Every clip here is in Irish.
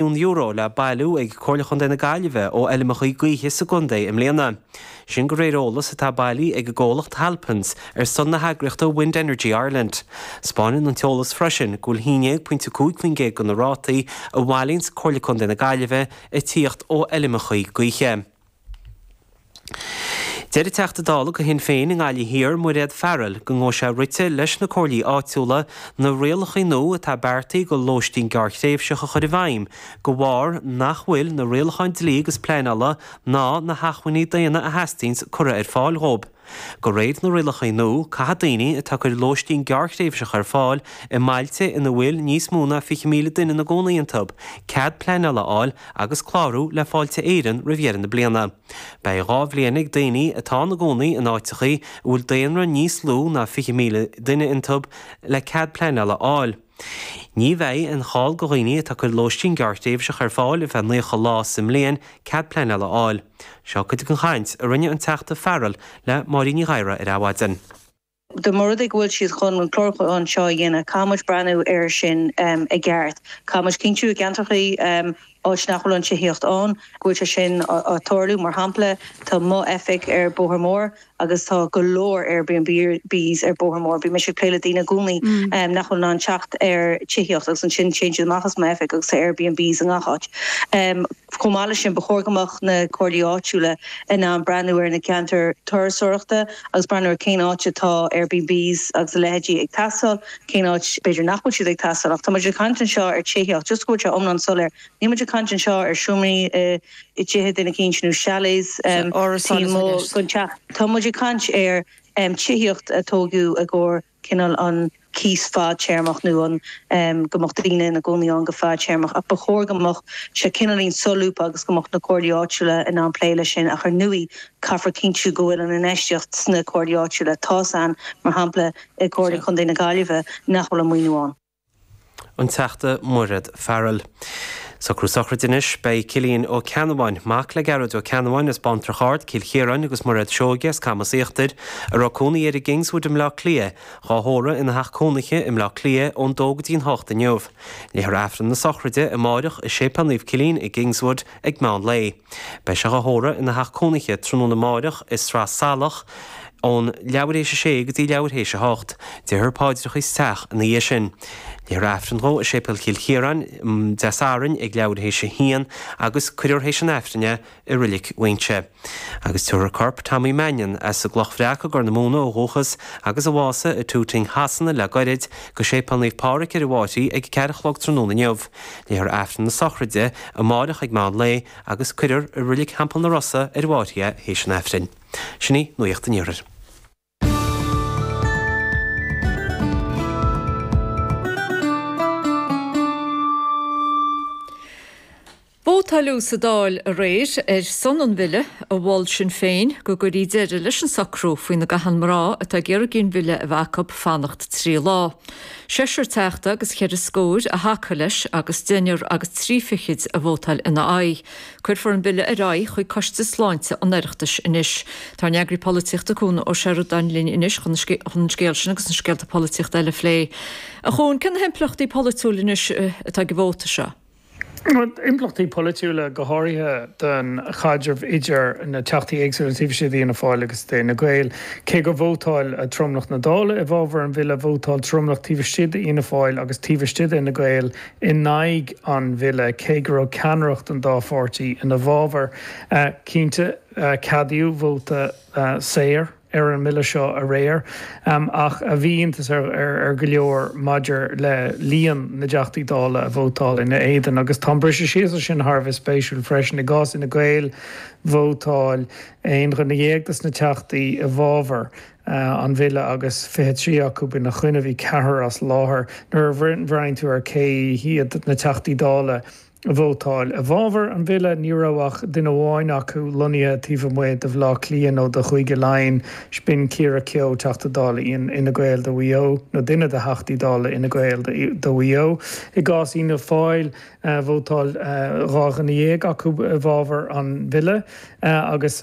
€1 le bailiú ag Comhairle Chontae na Gaillimhe ó fheilmeacha gaoithe sa gcontae i mbliana. Sin de réir eolas atá bailithe ag an gcomhlacht Halpins ar son na heagraíochta Wind Energy Ireland. 'Spáineann an t-eolas freisin go bhfuil 11.5% de na rátaí a bhailíonns Comhairle Contae na Gaillimhe ag tíocht ó fheilmeacha gaoithe. Deir an Teachta Dála do Shinn Féin i nGaillimh Thiar, Mairéad Farrell, go ngabhfaidh sé rite leis na comhairlí áitiúla na rialacha nua atá beartaithe do lóistín gearrthréimhseach a chur i bhfeidhm de bharr nach bhfuil na rialacháin dlí agus pleanála ná na hacmhainní daonna a theastaíonns curtha ar fáil dhóibh. De réir na rialacha nua, caithfidh daoine atá ag cur lóistín gearrthréimhseach ar fáil i mbailte ina bhfuil níos mó ná 20,000 duine ina gcónaí iontu, cead pleanála a fháil agus clárú le Fáilte Éireann roimh dheireadh na bliana. Beidh 2 bhliain ag daoine atá ina gcónaí in áiteachaí a bhfuil daonra níos lú ná 20,000 duine iontu le cead pleanála a fháil. Ní bheidh aon chall do dhaoine atá ag cur lóistín gearrthréimhseach ar fáil ar feadh 90 lá sa mbliain cead pleanála a fháil. Seo cuid den chaint a rinne an Teachta Farrell le Máirín Ní Ghadhra ar Adhmhaidin. Dá mba rud é go bhfuil siad chun an clárúchán seo a dhéanamh, caithfidh muid breathnú air sin i gceart. Caithfidh muid cinntiú i gceantrachaí, áit nach bhfuil an tithíocht ann, go bhfuil sé sin á tarlú. Mar shampla, tá mo oifig ar Bóthar Mór agus tá go leor Airbnbs ar Bóthar Mór. Bíonn mise ag plé le daoine i gcónaí nach bhfuil in ann teacht ar tithíocht agus ansin téann siad amach as m'oifig agus tá Airbnbs i ngach áit. Chomh maith leis sin, ba chóir go mbeadh na comhairlí áitiúla in ann breathnú ar na ceantair turasóireachta agus breathnú ar cén áit atá Airbnbs agus a leithéidí ag teastáil, cén áit b'fhéidir nach bhfuil siad ag teastáil. Ach tá muid ag caint anseo ar tithíocht, just go bhfuil sé iomlán soiléir, níl muid ag caint anseo ar seomraí i dtithe duine eicínt nó chalets taobh amuigh den teach. Tá muid ag caint ar tithíocht a tógadh i gcomhair cineál an cíos fadtéarmach nó an go mbeadh daoine ina gcónaí ann go fadtéarmach ach ba chóir go mbeadh sé cineáilín solúbtha agus go mbeadh na comhairlí áitiúla in ann plé leis sin ach ar ndóigh caithfear cinntiú go bhfuil an infheistíocht sna comhairlí áitiúla. Tá's a'inn, mar shampla, i gComhairle Chontae na Gaillimhe nach bhfuil an maoiniú ann. An Teachta Mairéad Farrell. Socrú sochraide anois. Beidh Cillian Ó Ceannabháin, mac le Gearóid Ó Ceannabháin as Baintreach Ard, Cill Chiaráin agus Mairéad Seoige as Camas Íochtair, a raibh cónaí air i gKingswood i mBleá Cliath, dhá thórramh ina theach cónaithe i mBleá Cliath ón dó go dtí'n hocht inniu. Léifear Aifreann na sochraide amáireach i Séipéal Naomh Cillian i gKingswood ag meán lae. Beidh sé dhá thórramh ina theach cónaithe tráthnóna amáireach i Sraith Salach ón leathuair théis a sé go dtí leathuair théis a hocht. Déarfar paidreacha sa teach ina dhiaidh sin. Léifear Aifreann dhó i Séipéal Chill Chiaráin Dé Sathairn ag leathuair théis a haon agus cuirfear théis an Aifrinn é i Roilic Mhaínse. Agus tabharfar corp Tommy Mannion, as an gCloch Bhreac i gCorr na Móna ó dhúchas agus a bhásaigh i Tooting Shasana le goirid, go Séipéal Naomh Pádraig ar an bhFáithrí ag a ceathair a chlog tráthnóna inniu. Léifear Aifreann na sochraide amáireach ag meán lae agus cuirfear i Roilic Theampall na Rosa ar an bhFáithrí é théis an Aifrinn. Sin í Nuacht an Iarthair. Vótáileadh sa Dáil aréir ar son an bhille a mhol Sinn Féin go gcuirfí deireadh leis an socrú faoina gcaitheann mná atá ag iarraidh ginmhilleadh a bheith acu fanacht 3 lá. Seisear teachta agus cheithre scór a thacaigh leis agus deichniúr agus trí fichid a vótáil ina aghaidh. Cuirfear an bille ar aghaidh chuig Coiste Sláinte an Oireachtais anois. Tá ár n-eagraí polaitíochta Cuan Ó Seireadáin linn anois chun an scéal sin agus na scéalta polaitíochta eile a phlé. A Chuain, cé na himpleachtaí polaitiúil anois atá ag an vóta seo? Impleachtaí polaitiúla, go háirithe don chaidreamh idir na teachtaí éagsúla taobh istigh d'Fhianna Fáil agus d'Fhine Gael. Cé gur vótáil tromlach na Dála i bhfabhar an bhille, vótáil tromlach taobh istigh d'Fhianna Fáil agus taobh istigh d'Fhine Gael in aghaidh an bhille, cé go raibh ceannaireacht an dá pháirtí ina bhfabhar. Cinnte, ceadaíodh vóta saor. ar an mbille seo aréir, ach bhí iontas ar go leor maidir le líon na dTeachtaí Dála a vótáil ina éadan. Agus tá an briseadh síos sin thar a bheith spéisiúil freisin. I gcás Fhine Gael, vótáil aon dhuine dhéag des na Teachtaí i bhfabhar an bhille agus 23 acu ina choinne, bhí ceathrar as láthair. Nuair a bhreathnaíonn tú ar cé hiad na Teachtaí Dála, a vótáil i bhfabhar an bhille. Ní raibh ach duine amháin acu lonnaithe taobh amuigh de Bhaile Átha Cliath nó de Chúige Laighean, b'in Ciara Keogh, Teachta Dála Fhine Gael do Mhaigh Eo, nó duine de Theachtaí Dála Fhine Gael do Mhaigh Eo. I gcás Fhianna Fáil. Vótáil 12 dhuine acu i bhfabhar an bhille agus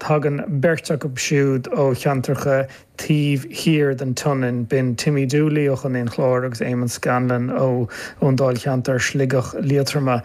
tagann beirt acu siúd ó cheantracha taobh thiar den tSionainn, b'in Timmy Dooley ó Chontae an Chláir agus Eamon Scanlon ón dáilcheantar Sligeach Liatroma.